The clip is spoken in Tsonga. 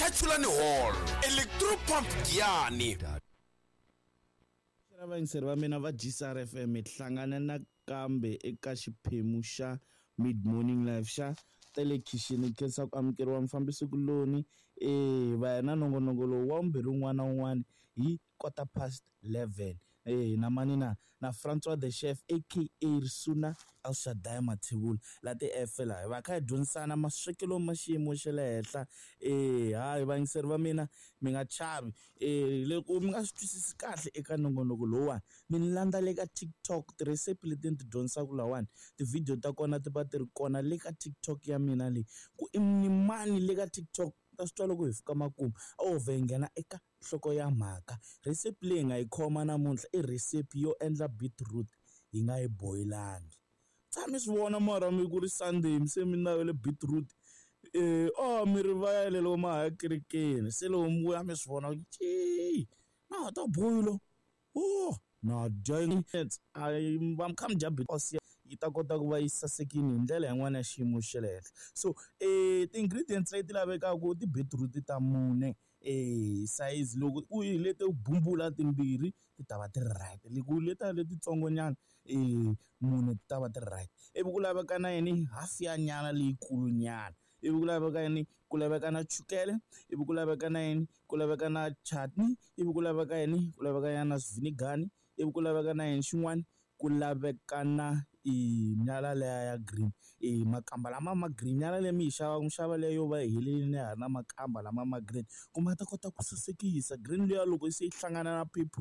Muchachulani Hall, Electropump Giyani. Xana vayingiseri va mina va GCR FM hi hlangana nakambe eka xiphemu xa Mid Morning Live xa telekhixini khensa ku amukeriwa mufambisi kuloni e va ya na nongonoko lowu wa vumbirhi wun'wana na wun'wana hi 11:15 e na mani na na Francois the Chef aka Risuna Elshadai Mathebula la ti-F laha hi va kha hi dyondzisana maswekelo ma xiyimo xa le henhla. E hayi vayingiseri va mina mi nga chavi, e loko mi nga swi twisisi kahle eka nongonoko lowuwani mi ni landza le ka TikTok, tirhesipi leti ni ti dyondzisaka lahawani tivhidiyo ta kona ti va ti ri kona le ka TikTok ya mina leyi ku i ni mani le ka TikTok ta swi twa loko hi fika makumu a wo vhe hi nghena eka nhloko ya mhaka. Rhesipi leyi hi nga yi khoma namuntlha i rhesipi yo endla beetroot hi nga yi boyilangi. Tshami swi vona mara mi ku ri Sunday mi se mi navele beetroot, a mi rivele loko ma ha ya kerekeni se loko mi vuya mi swi vona ku na ha ta boyila oh na dya a mi va mi kha mi dya beetroot yi ta kota ku va yi sasekile hi ndlela yin'wana ya xiyimo xa le henhla. So ti-ingredients leti lavekaka ti-beetroot ta mune, size loko u yi leti bumbula timbirhi ti ta va ti ri right, loko letiya letitsongonyana mune ti ta va ti ri right. Ivi ku laveka na yini hafu ya nyala leyikulu nyana, ivi ku laveka yini ku laveka na chukele, ivi ku laveka na yini ku laveka na chutney, ivi ku laveka yini ku laveka na swivinigani, ivi ku laveka na yini xin'wana ku laveka na i nyala liya ya green, e makamba lama ma green nyala leyi mi yi xavaka mi xava leyo yo va yi helelini ya ha ri na makamba lama ma green ku ma ta kota ku sasekisa green liya loko se yi hlangana na purple.